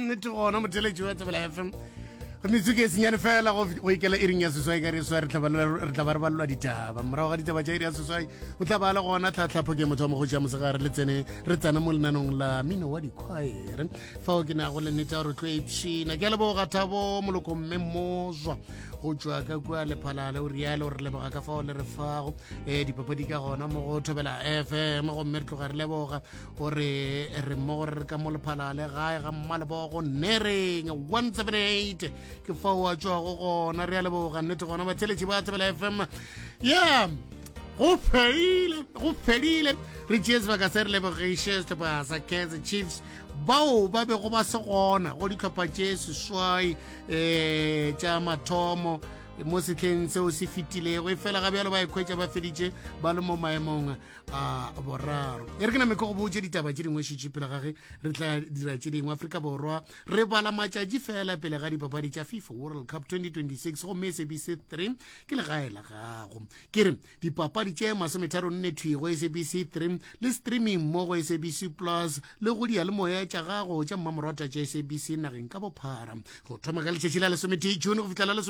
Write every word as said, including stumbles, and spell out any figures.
Nnete gona, motheletši wa Thobela F M, metsotso e senyane fela go go ikela iring ya seswai ka re swa re tla ba re tla ba re balelwa ditaba. Morago ga ditaba tša iri ya seswai o tla ba le gona tlhatlhapho ke motho wa mogoši ya mosegare le tsene re tsena mo lenanong la mino wa dikhwaere fao ke nago le nnete ya gore tlo ipshina. Ke a leboga Thabo Moloko mme Mozwa go tšwa ka kua Lephalale, o rialo re leboga ka fao le re fago um dipapadi ka gona mo go Thobela F M, gomme re tloga re leboga gore re mmogo re re ka mo Lephalale gae ga Mmalebogo Nereng one seven eight ke fao a tšwago gona. Re a leboga nnete gona batheletši ba Thobela F M. Ya go fedile, go fedile. Re tšee sebaka se re lebogiše sehlopha sa Kaizer Chiefs bao ba bego ba se gona go dihlopha tše seswai um tša mathomo mo setlheng seo se fetilego, e fela ga bjalo ba ikhwetša ba feditše ba le mo maemong a boraro. E re ke name ke go botse ditaba tše dingwe šetše pele ga ge re tla dira tše dingwe. Afrika Borwa re bala matšatši fela pele ga dipapadi tša FIFA World Cup twenty twenty-six, gomme S A B C three ke legae la gago. Ke re dipapadi tše masometharo nne thwi go S A B C three le streaming mo go S A B C Plus le go diyalemoya tša gago tša mmamorata tša S A B C nageng ka bophara go thoma ka letšatši la lesometee June go fihla la lesome